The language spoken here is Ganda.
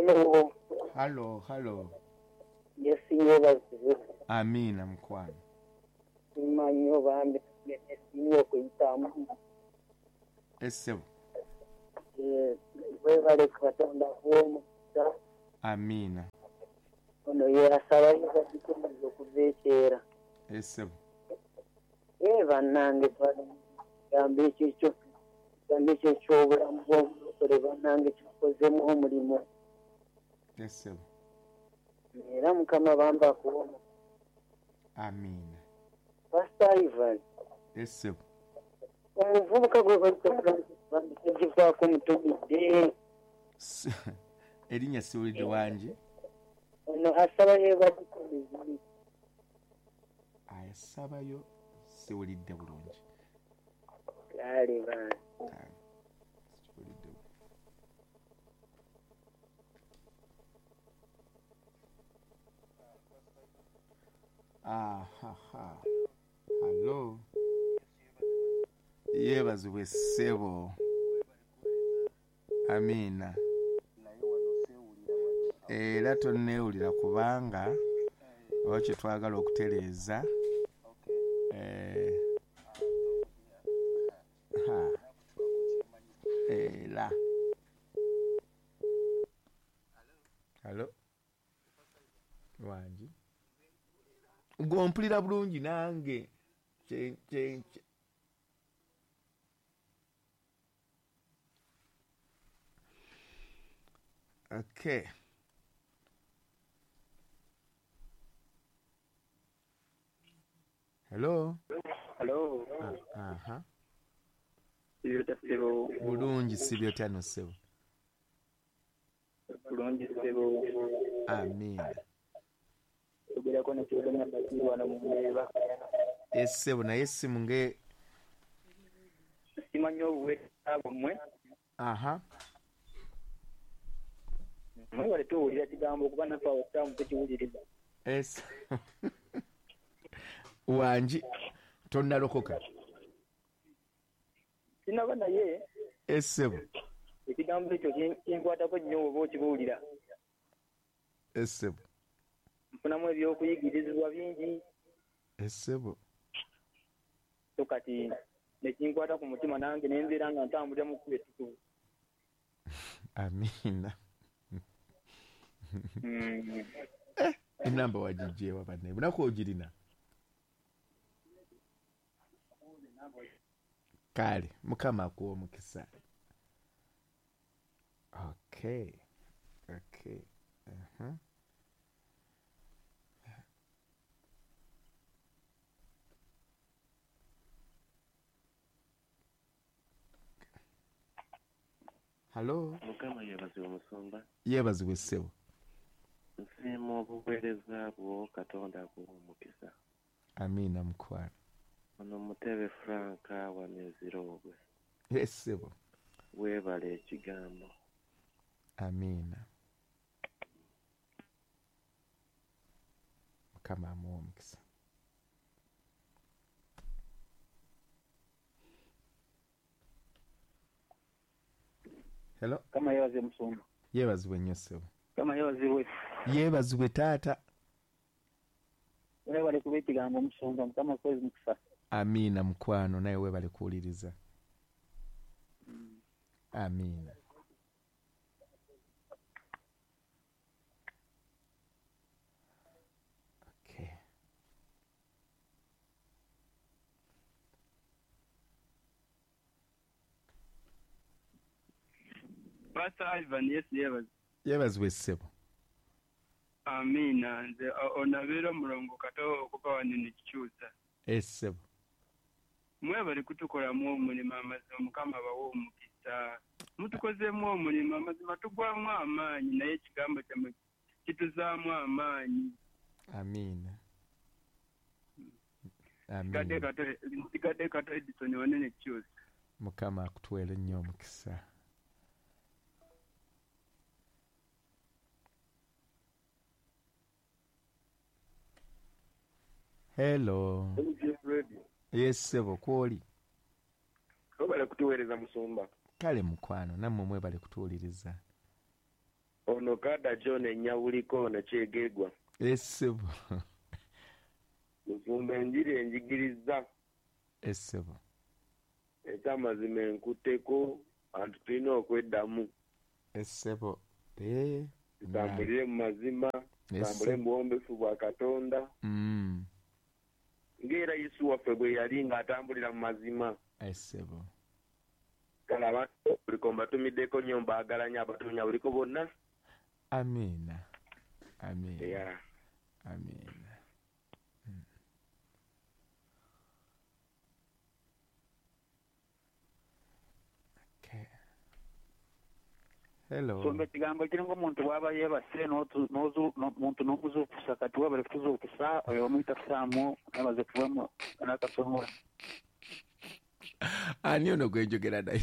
Hello. Hallo, hallo. Yesu yeebazibwe. Amiina mukwano. Simanyi oba mbe nesiimye okuyitamu. Essebo. Webale Katonda akuwe omukisa. Amiina. Ono ye asaba yebazibwe okuva ekyera. Essebo. Bannange ekigambo ekyo ekigambo ekyo eky'obulamu bw'omulokole bannange kitukozeemu omulimu. Essebo. Era Mukama bambi akuwe omukisa. Amiina. Pastor Ivan. Essebo. Omuvubuka gwe bayita Francis bambi tagivaako mutumidde. Erinnya siwulidde wangi. Ono asaba yeebazibwe. Asabayo siwulidde bulungi. Kale bambi. Siwulidde bulungi. Ahaha. Hallo. Yeebazibwe ssebo. Amiina. Era tonneewulira kubanga oba kye twagala okutereeza. Era. Hallo. Wangi. Gwompulira bulungi nange. Okay. Hello. Hello. Aha. Sibyo bulungi sibyo tano sebo. Bulungi sebo. Amiina. Ogerako ne kyogana bakirwana mu mbeera. Essebo naye essimu nge simanyi obuweereza bwammwe. Aha. Mwebale tuwulira kigambo kuba naffe abasiraamu tukiwuliriza. Wangi tonnalokoka. Sinaba naye. Essebo. Ekigambo ekyo kinkwatako nnyo oba okibuulira. Essebo. Nfunamu ebyokuyigirizibwa bingi. Essebo. So kati nekinkwata ku mutima nange ne mbeera nga ntambulira mu kkubo ettukuvu. Amiina. Enamba wagiggyewa banne bunaku ogirina. Kale Mukama akuwe omukisa. Okay. Okay. Uh-huh. Hello. Mukama yeebazibwe musumba. Yeebazibwe ssebo. Nsiima obuweereza bwo Katonda akuwe omukisa. Amiina mukwano. Ono Mutebe Frank wa Nezirobwe. Ssebo. Weebale ekigambo. Amiina. Mukama amuwe omukisa. Hello. Kama yeebazibwe musumba. Yeebazibwe nnyo ssebo. Kama yeebazibwe. Yeebazibwe taata. Weebale kuba ekigambo musumba Mukama akuwe omukisa. Amiina mukwano naye weebale kuwuliriza. Amiina. Okay. Pastor Ivan, Yesu yeebazibwe. Yeebazibwe ssebo. Amiina. Nze onabeera omulongo kato okuva wano ne kikyusa. Essebo. Mwebale kutukolamu omulimu amazima Mukama abawe omukisa. Mutukozeemu omulimu amazima tugwamu amaanyi naye ekigambo kyammwe kituzaamu amaanyi. Amiina. Amiina. Nsigadde Kato Edison wanene kikyusa. Mukama akutuweere nnyo omukisa. Hello. Yes, ssebo kwoli. Webale kutuweereza musumba. Kale mukwano nammwe mwebale kutuwuliriza. Ono kada John enyabuliko ono kyegegwa. Esebo. Musumba enjiri enjigiriza. Esebo. Ekyamazima enkuteko antu tulina okweddamu. Esebo. Tutambulire mu mazima, tutambule mu buwombeefu bwa Katonda. Ng'era Yesu waffe bwe yali ng'atambulira mu mazima. Esebo. Kale abantu buliko mbatumiddeko nnyo, mbaagala nnyo abatunya buliko bonna. Amiina. Amiina. Yeah. Amiina. Okay. Hello. Songa kigambo kiringa omuntu bw'aba yeebase muntu n'omuzuukusa kati wabale kutuzuukusa oyo omuyita kusaamu nabaze kuvamu n'akasomola. Ani ono gwe njogera naye?